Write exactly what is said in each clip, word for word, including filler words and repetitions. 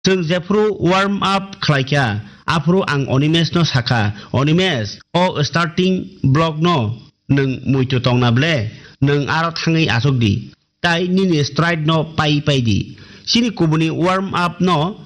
Chwng jephru warm up khlaikha, aphru ang Animesh no sakha, "Animesh, o starting block no nwng muitu tongna ble, nwng aro thangwi achuk di, tai nini stride no pai pai di, chini kubuni warm up no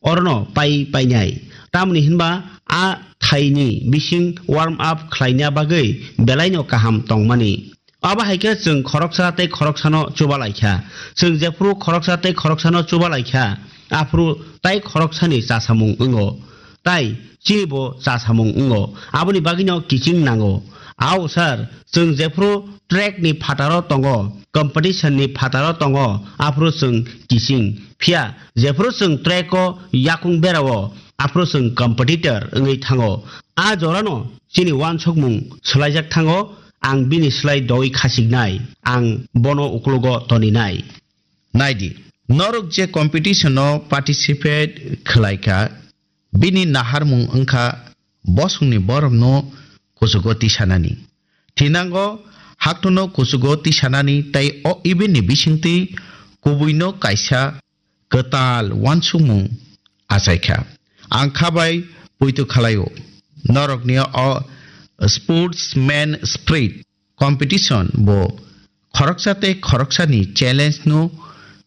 orono pai painai." Tamoni hinba a thaini bising warm up khlaina bagwi belaino kaham tongmani. Abo hai khe chwng khoroksa tei khoroksano chubalaikha. Chwng jephru khoroksa tei khoroksano chubalaikha, aphru tai khoroksani chasamung wngo, tai chinibo chasamung wngo. Aboni bagwino kiching nango. Ao sir, chwng jephru track ni phataro tongo, competition ni phataro tongo, aphru chwng kiching. Phiya jephru chwng track o yakung berao, aphru chwng competitor wngwi thango. A jorano chini uansukmung swlaijak thango, ang bini slai doi khasiknai, ang bono uklogo toninai. Naidi, norok je competition o participate khlaikha, bini naharmung wngkha bosongni borokno kuchugo tisanani. Thinango haktono kuchugo tisanani tei o event ni bisingtwi kubuino kaisa kwtal uansukmung achaikha. Ang kha bai poito khlaio, norokni o sportsman spirit competition bo khoroksa tei khoroksani challenge no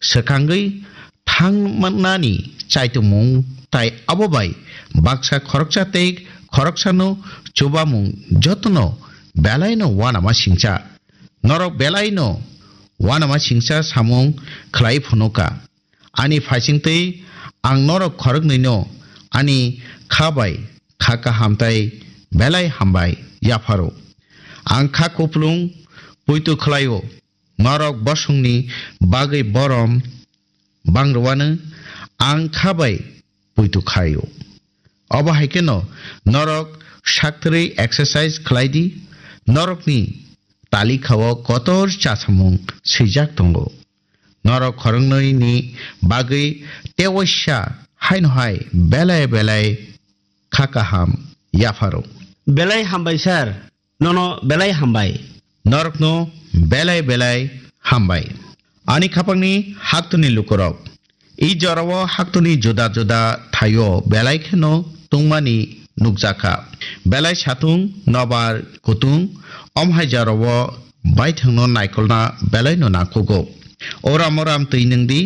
swkangwi thangmani chaitumung, tai abo bai baksa khoroksa tei khoroksano chubamung jotono belaino uanama singcha. Norok belaino uanama singcha samung khlai phunukha. Ani phaisingtwi ang norok khoroknwino ani kha bai kha kaham tai belai hambai yapharo. Ang kha kuplung poito khlaio, norok bosongni bagwi borom bangrwano ang kha bai poito khlaio. Obo hai kheno norok sakthwrwi exercise khlai di, norokni talikha o kotor chasamung swijak tongo. Norok khoroknwi ni bagwi tewaisa haino hai belai belai kha kaham yapharo. Belai hambai sir, nono belai hambai. Norokno belai belai hambai. Ani khapangni haktoni lukurok. I jorao haktoni juda juda thaio belai kheno tungmani nukjakha. Belai satung, nobar, kutung, omhai jorao baithangno naikolna belaino nangkukgo. Oram oram twi nwngdi,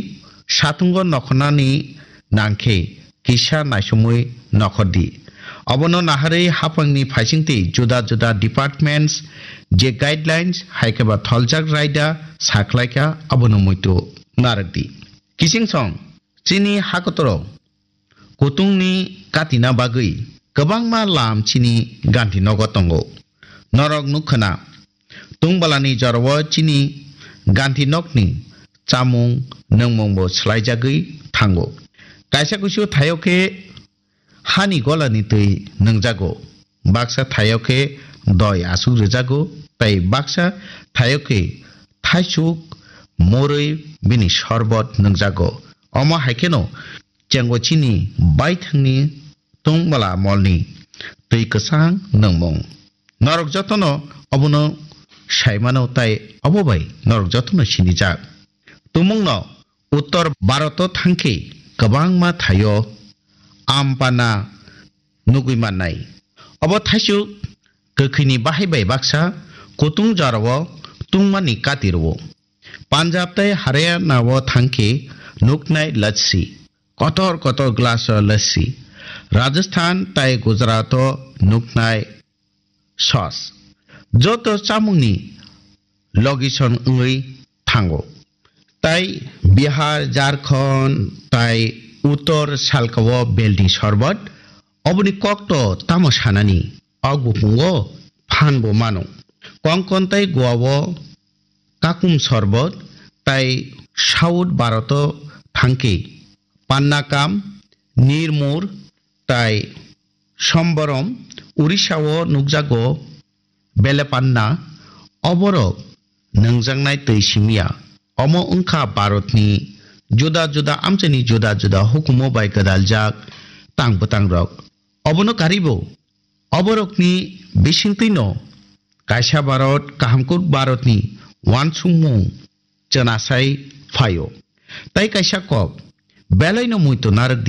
satungo nokhornani nangkhe kisa naisomwi nokhordi. Obono naharwi haphangni phaisingtwi juda juda departments je guidelines hai khe ba tholjak raida sakhlaikha, abono muitu narwkdi. Kiching song, chini hakotoro kutungni katina bagwi kwbangma lam chini Gandhi nogo tongo. Norok nukkhana, tungbalani jorao chini Gandhi nokni chamung nwngmungbo swlaijagwi thango. Kaisa kuisu thaio khe hani golani twi nwngjago. Baksa thaio khe doi aswk rwjago, tei baksa thaio khe thaisuk, morwi bini sorbot nwngjago. Omo hai kheno chengo chini baithangni tungmala molni twi kwchang nwngmung. Norok jotono obono saimano, tei obo bai norok jotono sinijak. Tumungno Uttor Bharoto thangkhe kwbangma thaio ampana nugwi mannai. Obo thaisuk kwkhwini bahai bai baksa kutung jorao tungmani kati rwo. Punjab tei Haryana o thangkhe nuknai lassi, kotor kotor glass o lassi. Rajasthan tei Gujarat o nuknai sauce. Joto chamungni location wngwi thango. Tai Bihar, Jharkhand tai Uttor salka o belni sorbot. Oboni kokto tamo sanani, o bukungo phan bo mano. Konkon tai Goa o kakum sorbot, tai South Bharat o thangkhe pannakam, nirmur tai somborom. Orissa o nukjago belepanna, oborok nwngjaknai twi simiya. Omo wngkha Bharatni juda juda amchaini juda juda hukumu bai gwdaljak tang bwtangrok. Obono karibo oborokni bisingtwino kaisa Bharat, kahamkuk Bharatni uansukmung chwnasai phaio. Tai kaisa kok, belaino muitu narwkdi.